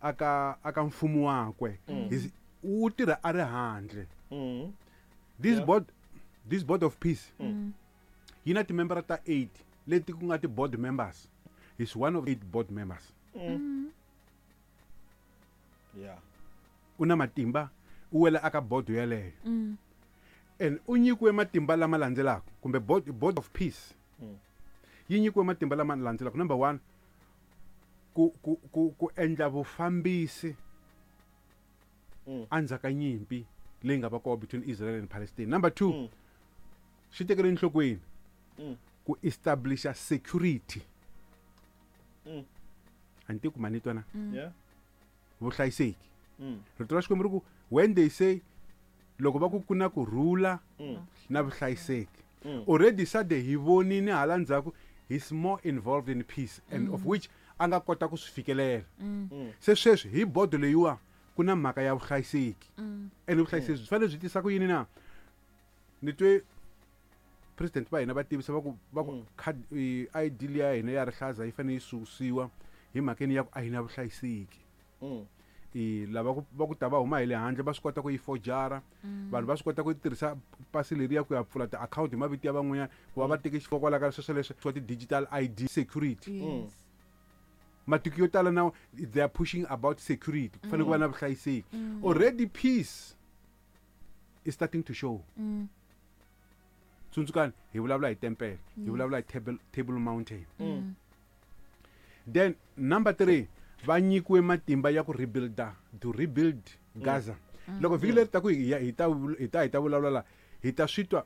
Aka mfumo wakwe. U tirha a ri handle. This board of peace yi na timembara ta 8 leti ku nga ti-board members. Is one of 8 board members. U na matimba, u wela aka board yeleyo. And u nyikiwe matimba lama landzelaka, kumbe board of peace. Yi nyikiwe matimba lama landzelaka. Number 1, ku endla vufambisi endzhaku ka nyimpi leyi nga va kona between Israel and Palestine. Number 2, swi tekele enhlokweni ku establisha security. A ni tivi ku ma ni twa na? Vuhlayiseki. Rito ra Xikwembu ri ku, when they say, loko va ku ku na ku rhula na vuhlayiseki. Already SADC hi vonile hala ndzhaku, he's more involved in peace, and of which a nga kota ku swi fikelela. Se sweswi hi bodo leyiwa ku na mhaka ya vuhlayiseki. And vuhlayiseki byi fanele byi tisa ku yini na? Ni twe president va hina va tivisa va ku, va ku card, ID liya ya hina ya rihlaza yi fanele yi susiwa hi mhakeni ya ku a hi na vuhlayiseki. Lava va ku ta va huma hi le handle va swi kota ku yi forjara. Vanhu va swi kota ku tirhisa pasi leriya ku ya pfula ti-account hi mavito ya van'wanyana, ku va va teke xifo kwala ka sweswo leswi swa ti-digital ID security. Matiko yo tala now they are pushing about security. Ku fanele ku va na vuhlayiseki. Already peace is starting to show. Tsundzukani, hi vulavula hi tempele, hi vulavula hi Table Mountain. Then number 3, va nyikiwe matimba ya ku rebuilda, to rebuild Gaza. Loko vhiki leri taku hi ya, hi ta vul-, hi ta, hi ta vulavula la, hi ta swi twa.